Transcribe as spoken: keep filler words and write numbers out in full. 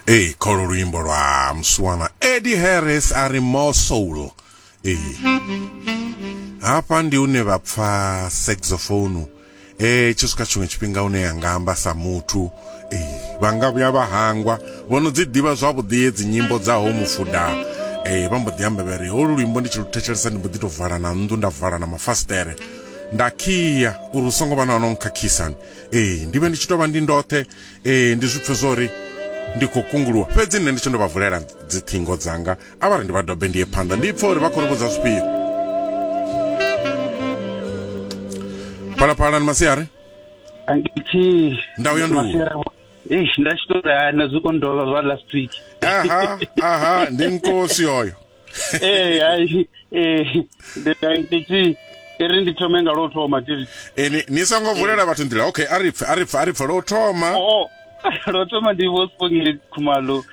Ee, kholo luimbo lwa musiwana Eddie Harris a ri "More Soul". Ee, hafha ndi une vha pfa saxophone e tshi swika tshiṅwe tshifhinga une ya nga amba sa muthu. Ee, vha nga vhuya vha hangwa vho no dzi ḓivha zwavhuḓi dzi nyimbo dza ho mufuda. Ee, vha mbo ḓi amba vha ri holu luimbo ndi tshi lu thetshelesa ndi mbo ḓi tou vala na nnḓu, nda vala na mafasiṱere, nda khia uri hu songo vha na ono nkhakhisani. Ee, ndi vhe ndi tshi tou vha ndi ndoṱhe. Ee, ndi zwi pfe zwo uri ndi khou kunguluwa, fhedzi nṋe ndi tshi ndo vha vulela dziṱhingo dzanga. A vha ri ndi vha dobe, ndi ye phanḓa, ndi pfe uri vha khou ri vhudza zwifhio. Phalaphala, ni masiari. Angithi. Ndau ya nduhu. Eish, nda tshi tou ri na zwi kondova zwa last week. Aha, aha, ndi nkosi oyo. Eh, ai, eh, ndi ndi ri ndi thome nga lwo thoma tiri. E, ni, ni songo vulela vhathu nḓila. Okay, a ri pfe, a ri pfe, a ri pfe lwo thoma. Oh, lwo thoma ndi Vho Sibongile Khumalo.